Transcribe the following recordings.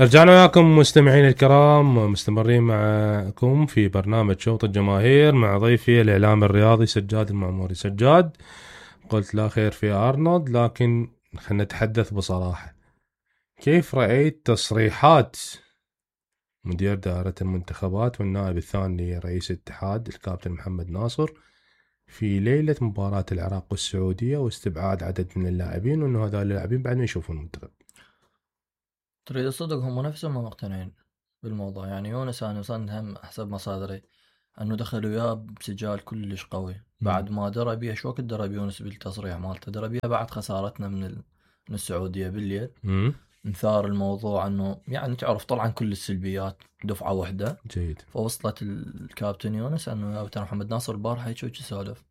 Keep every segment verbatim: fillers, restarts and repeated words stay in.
رجعنا وياكم مستمعين الكرام، مستمرين معكم في برنامج شوط الجماهير مع ضيفي الإعلام الرياضي سجاد المعموري. سجاد، قلت لا خير في أرنولد، لكن خلنا نتحدث بصراحة. كيف رأيت تصريحات مدير دائرة المنتخبات والنائب الثاني لرئيس الاتحاد الكابتن محمد ناصر في ليلة مباراة العراق والسعودية واستبعاد عدد من اللاعبين، وأنه هذول اللاعبين بعد ما يشوفوا المنتخب؟ تريد الصدق هم نفسهم ما مقتنعين بالموضوع. يعني يونس أنا وصلنا هم حسب مصادري أنه دخلوا وياه بسجال كلش قوي بعد ما درى بيها. شو وقت درى بيونس بالتصريح مالته؟ درى بيها بعد خسارتنا من ال... من السعودية بالليل. مثار الموضوع أنه يعني تعرف طلعا كل السلبيات دفعة واحدة. جيد. فوصلت الكابتن يونس أنه يا محمد ناصر البارحة هيك وهيك سالف،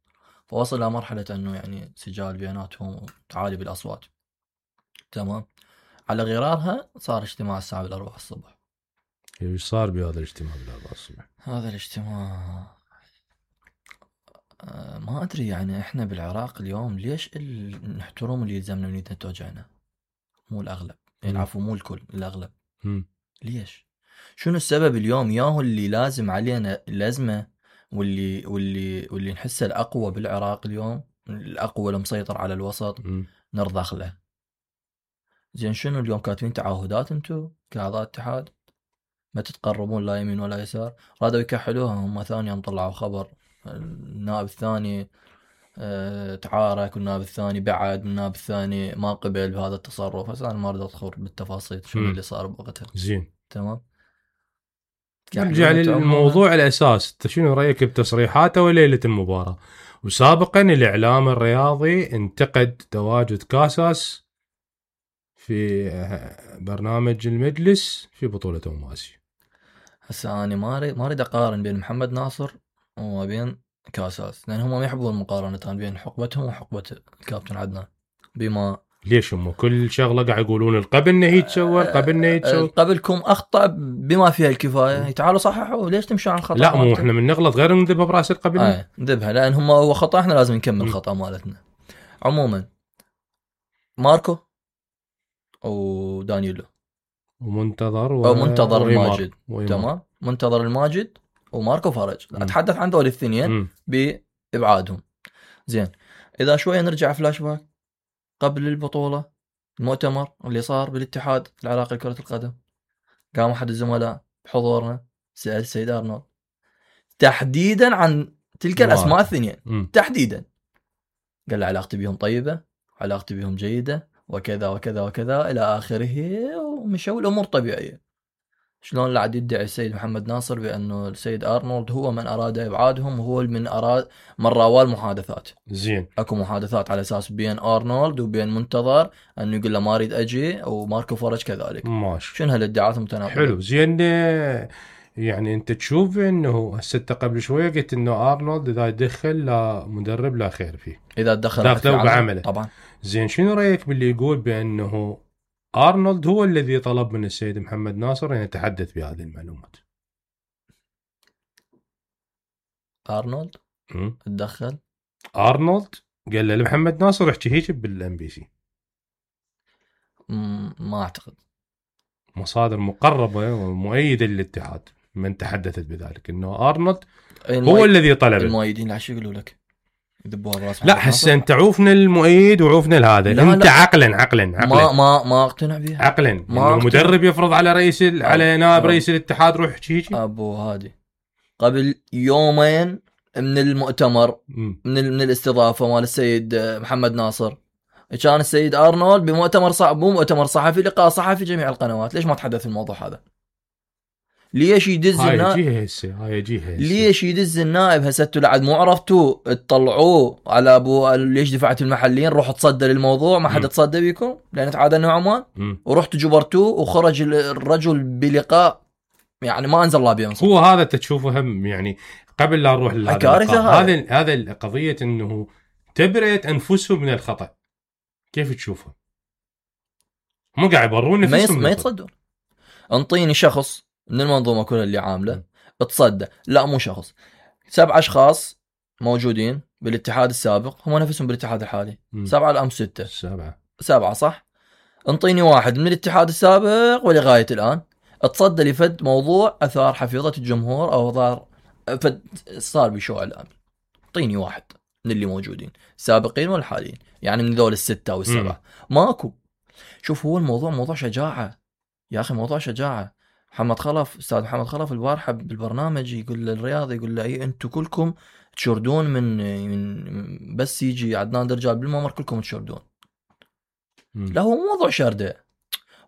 فوصل إلى مرحلة أنه يعني سجال بياناتهم تعالي بالأصوات. تمام. على غرارها صار اجتماع الساعة بالأربعة الصبح. ايش صار بهذا الاجتماع بالأربعة الصبح؟ هذا الاجتماع آه ما أدري. يعني إحنا بالعراق اليوم ليش نحترم اللي يلزمنا من يدنا توجعنا؟ مو الأغلب، يعني عفوا مو الكل، الأغلب. مم. ليش؟ شنو السبب اليوم؟ ياهو اللي لازم علينا الأزمة واللي واللي واللي نحسه الأقوى بالعراق اليوم، الأقوى المسيطر على الوسط، مم. نرضخ له. زين شنو اليوم كاتبين تعهدات انتو كأعضاء اتحاد ما تتقربون لا يمين ولا يسار؟ رادوا يكحلوها. هم ثاني يوم طلعوا خبر النائب الثاني اه تعارك، والنائب الثاني بعد، والنائب الثاني ما قبل بهذا التصرف. بس انا ما اريد ادخل بالتفاصيل شنو اللي صار بوقتها. زين. تمام. نرجع للموضوع الاساس، انت شنو رايك بتصريحاته وليله المباراه؟ وسابقا الاعلام الرياضي انتقد تواجد كاساس في برنامج المجلس في بطوله أمم آسيا. هسه انا ما اريد ما اريد اقارن بين محمد ناصر وبين كاساس، لان هم ما يحبون المقارنه بين حقبتهم وحقبه الكابتن عدنان. بما ليش هم كل شغله قاعد يقولون القبل نه يتسوى القبل نه يتسوى قبلكم اخطا بما فيها الكفايه، تعالوا صححوا. ليش تمشوا على الخطا؟ لا مو احنا من نغلط غير نذبها براس القبل. اه نذبها لان هم هو خطا، احنا لازم نكمل خطا مالتنا. عموما ماركو ودانييلو ومنتظر و... ومنتظر الماجد. تمام. منتظر الماجد وماركو فرج. م. اتحدث عن ذول الاثنين بابعادهم. زين اذا شويه نرجع فلاش باك قبل البطوله، المؤتمر اللي صار بالاتحاد العراقي لكره القدم، قام احد الزملاء بحضورنا سأل السيد أرنولد تحديدا عن تلك الاسماء الاثنين تحديدا. قال له علاقتي بهم طيبه، علاقتي بهم جيده، وكذا وكذا وكذا الى اخره، ومشوا الامور طبيعيه. شلون لا عاد يدعي السيد محمد ناصر بانه السيد ارنولد هو من اراد ابعادهم، وهو من اراد من راوى المحادثات. زين اكو محادثات على اساس بين ارنولد وبين منتظر انه يقول له ما اريد اجي، وماركو فرج كذلك. ماشي. شنو هالادعاءات المتناقضه؟ حلو. زين يعني انت تشوف انه هسه قبل شويه قلت انه ارنولد اذا يدخل لا مدرب لا خير فيه، اذا تدخل في عمله طبعا. زين شنو رايك باللي يقول بانه ارنولد هو الذي طلب من السيد محمد ناصر ان يتحدث بهذه المعلومات؟ ارنولد تدخل؟ ارنولد قال له لمحمد ناصر احكي هيك بالام بي سي. ما اعتقد. مصادر مقربه ومؤيده للاتحاد من تحدثت بذلك انه ارنولد هو الذي طلب. المؤيدين لا شو يقولوا لك يدبوها براس. لا هسه انت عوفنا المؤيد وعوفنا الهذا. انت لا. عقلا عقلا عقلا ما ما ما اقتنع بيها عقلا انه مدرب يفرض على رئيس ال... على نائب رئيس الاتحاد روح هيك. ابو هادي قبل يومين من المؤتمر م. من ال... من الاستضافه مال السيد محمد ناصر، كان السيد ارنولد بمؤتمر صعب مو مؤتمر صحفي، لقاء صحفي جميع القنوات. ليش ما تحدث الموضوع هذا؟ ليش يدز النائب؟ هاي هسه هاي جهه ليش يدز النائب هسه؟ لعد مو عرفتوا تطلعوه على ابو ليش دفعت المحلين روحوا تصدى للموضوع، ما حد تصدى بيكم لان تعادلنا عمان، ورحتوا جبرتوه وخرج الرجل بلقاء يعني ما انزل الله بينصف. هو هذا تشوفه هم يعني قبل لا نروح لهذا هذا هذا القضيه انه تبرئه انفسهم من الخطا. كيف تشوفه؟ مو قاعد يبرون نفسهم ما يتصدون. انطيني شخص من المنظومه كلها اللي عامله تصدى. لا مو شخص، سبع اشخاص موجودين بالاتحاد السابق هم نفسهم بالاتحاد الحالي. م. سبعه الام سته. سبعه سبعه صح. انطيني واحد من الاتحاد السابق ولغايه الان اتصدى لفد موضوع اثار حفيظه الجمهور او اثار فد صار بشو اعلامي. اعطيني واحد من اللي موجودين السابقين والحاليين، يعني من ذول الستة او السبعة ماكو. شوف هو الموضوع موضوع شجاعة يا اخي، موضوع شجاعة. محمد خلف استاذ محمد خلف البارحة بالبرنامج يقول للرياض يقول له اي انتم كلكم تشردون من من بس يجي عدنان درجال بالممر كلكم تشردون. لا هو موضوع شردة،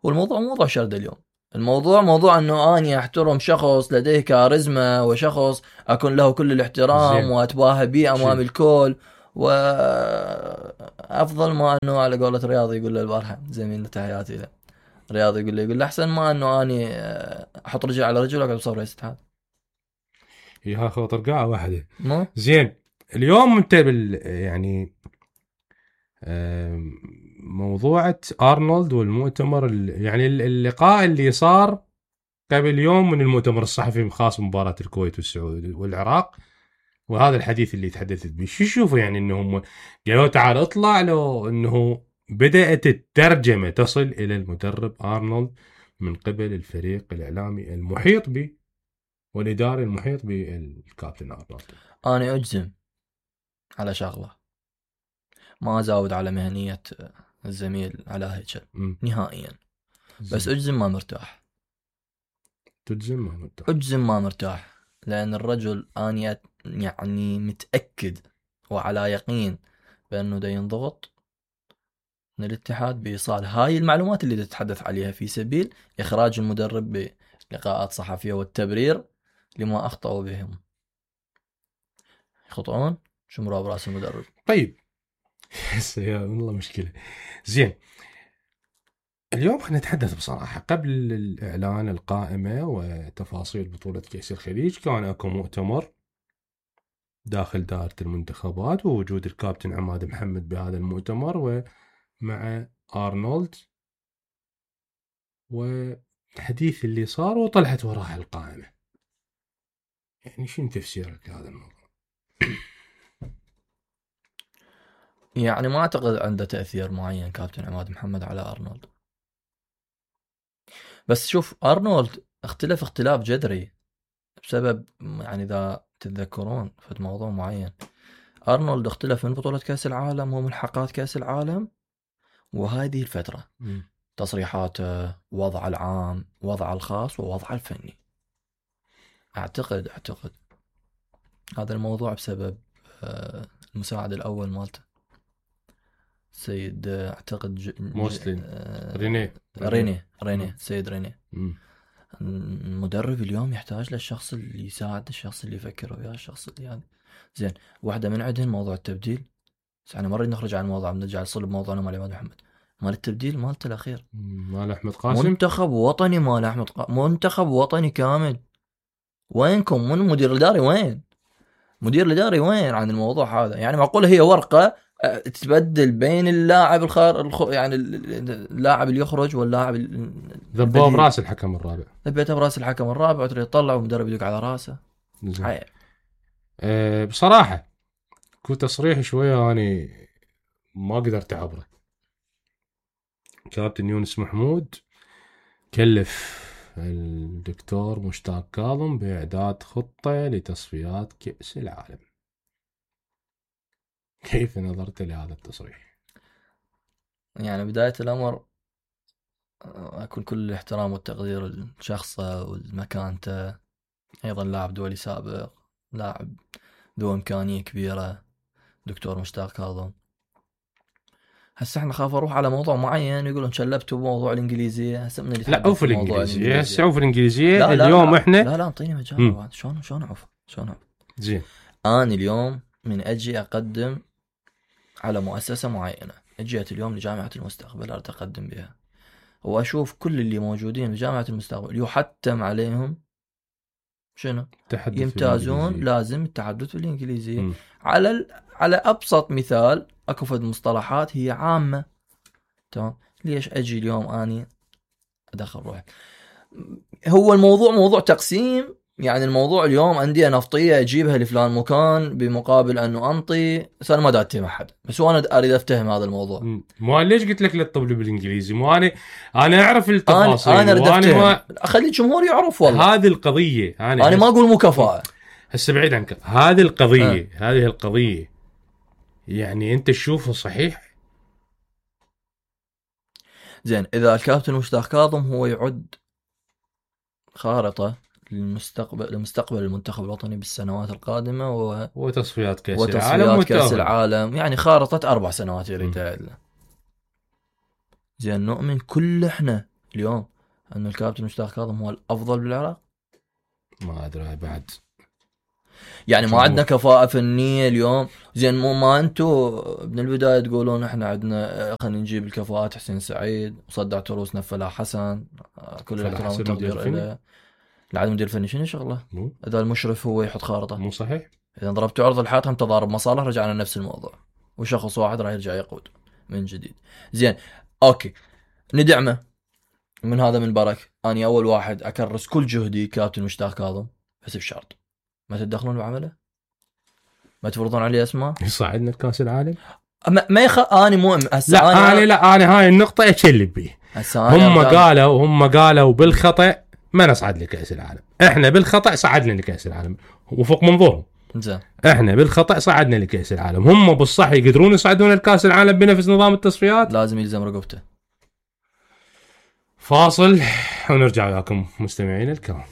والموضوع موضوع شردة اليوم. الموضوع موضوع انه اني احترم شخص لديه كاريزما وشخص اكون له كل الاحترام زين. واتباهى به امام الكل، وافضل ما انه على قولة رياض يقول له البارحة زميلنا تحياتي له رياض يقول له يقول له احسن ما انه اني احط رجل على رجل واقعد بصور رئيس الاتحاد. يا اخو طرقعه واحده زين. اليوم انت بال يعني موضوعة أرنولد والمؤتمر يعني اللقاء اللي صار قبل يوم من المؤتمر الصحفي خاص مباراة الكويت والسعودية والعراق، وهذا الحديث اللي تحدثت به شو شوفوا يعني انهم قالوا تعال اطلع له انه بدأت الترجمة تصل الى المدرب أرنولد من قبل الفريق الاعلامي المحيط به والاداري المحيط بالكابتن أرنولد. انا اجزم على شغله، ما ازاود على مهنية الزميل على هيكل نهائيا، بس اجزم ما مرتاح. تجزم ما مرتاح؟ اجزم ما مرتاح، لان الرجل اني يعني متأكد وعلى يقين بانه دا ينضغط من الاتحاد بايصال هاي المعلومات اللي تتحدث عليها في سبيل اخراج المدرب بلقاءات صحفية والتبرير لما اخطأوا بهم. يخطئون شمروا براس المدرب. طيب يا والله مشكلة. زين اليوم خلينا نتحدث بصراحة. قبل الإعلان القائمة وتفاصيل بطولة كأس الخليج كان اكو مؤتمر داخل دائرة المنتخبات ووجود الكابتن عماد محمد بهذا المؤتمر ومع أرنولد والحديث اللي صار وطلعت وراها القائمة. يعني شنو تفسيرك لهذا الموضوع؟ يعني ما أعتقد عنده تأثير معين كابتن عماد محمد على أرنولد، بس شوف أرنولد اختلف اختلاف جذري بسبب يعني إذا تتذكرون في موضوع معين. أرنولد اختلف من بطولة كأس العالم وملحقات كأس العالم وهذه الفترة م. تصريحاته، وضع العام، وضع الخاص، ووضع الفني. أعتقد أعتقد هذا الموضوع بسبب المساعد الأول مالته سيد أعتقد ج... موسلين آه... ريني ريني ريني سيد ريني. م. المدرب اليوم يحتاج للشخص اللي يساعد، الشخص اللي يفكر وياه، الشخص اللي يعني زين. واحدة من عندهم موضوع التبديل، بس احنا مرة نخرج عن الموضوع نرجع لصلب موضوعنا مال عماد محمد. مال التبديل مالته الأخير مال أحمد قاسم، منتخب وطني مال أحمد قاسم، منتخب وطني كامل. وينكم من المدير الإداري؟ وين مدير الإداري وين عن الموضوع هذا؟ يعني معقول هي ورقة تتبدل بين اللاعب الخار الخ... يعني اللاعب اللي يخرج واللاعب ذبوه براس الحكم الرابع، ذبيته براس الحكم الرابع وتري يطلع ومدرب يدق على راسه. أه بصراحة كنت تصريح شوية أنا ما قدرت أعبره. كابتن يونس محمود كلف الدكتور مشتاق كاظم بإعداد خطة لتصفيات كأس العالم. كيف نظرت لهذا التصريح؟ يعني بداية الأمر أكون كل الاحترام والتقدير لشخصه والمكانته، أيضا لاعب دولي سابق، لاعب ذو إمكانية كبيرة دكتور مشتاق كاظم. هسه احنا خاف اروح على موضوع معين يقولون شلبتوا بموضوع الانجليزيه. هسه من اللي لا عوف الانجليزيه، هسه عوف الانجليزيه. لا لا اليوم لا احنا لا لا انطيني مجال. شلون شلون عوف شلون عوف زين. انا اليوم من اجي اقدم على مؤسسه معينه، اجيت اليوم لجامعه المستقبل اريد اقدم بها، واشوف كل اللي موجودين بجامعه المستقبل يحتم عليهم شنو يمتازون، لازم التحدث بالانجليزيه. م. على ال... على ابسط مثال اكو فد مصطلحات هي عامه، تمام؟ ليش اجي اليوم اني ادخل روحي؟ هو الموضوع موضوع تقسيم يعني الموضوع اليوم أندية نفطية أجيبها لفلان مكان بمقابل أنه أنطي، بس أنا ما دا أتهم أحد، بس هو أنا أريد أفتهم هذا الموضوع. مو ليش قلت لك لا تطبلي بالإنجليزي؟ مو أنا أنا أعرف التفاصيل، أنا أريد أفتهم، ما... أخلي الجمهور يعرف. والله هذه القضية أنا, أنا ما أقول مو كفاءة، هسه بعيد عنك. هذه القضية أه. هذه القضية يعني أنت تشوفه صحيح؟ زين، إذا الكابتن مشتاق كاظم هو يعد خارطة للمستقبل لمستقبل المنتخب الوطني بالسنوات القادمة و... وتصفيات كأس وتصفيات العالم كأس العالم، يعني خارطة أربع سنوات يريد له. زين، نؤمن كل إحنا اليوم أن الكابتن مشتاق كاظم هو الأفضل بالعراق؟ ما أدري بعد، يعني ما عندنا كفاءة فنية اليوم. زين، مو ما أنتوا من البداية تقولون إحنا عندنا خلينا نجيب الكفاءات، حسين سعيد وصدع تروسنا فلاح حسن، كل الاحترام والتقدير له. العدم مدير فني شنو شغله؟ إذا المشرف هو يحط خارطة مو صحيح. إذا ضربتوا عرض الحائط هم تضارب مصالح، رجعنا نفس الموضوع وشخص واحد راح يرجع يقود من جديد. زين أوكي، ندعمه من هذا من برك. أنا أول واحد أكرس كل جهدي كابتن مشتاق كاظم، بس بشرط ما تتدخلون بعمله، ما تفرضون عليه اسماء يصعدنا لكاس العالم. ما, ما يخ... أنا مو لا أنا, أنا لا أنا هاي النقطة أتشلب بيه. هم قالوا هم قالوا بالخطأ ما نصعد لكأس العالم، احنا بالخطأ صعدنا لكأس العالم وفوق منظورهم. زين، احنا بالخطأ صعدنا لكأس العالم، هم بالصح يقدرون يصعدون لكأس العالم بنفس نظام التصفيات. لازم يلزم رقبته. فاصل ونرجع لكم مستمعين الكرام.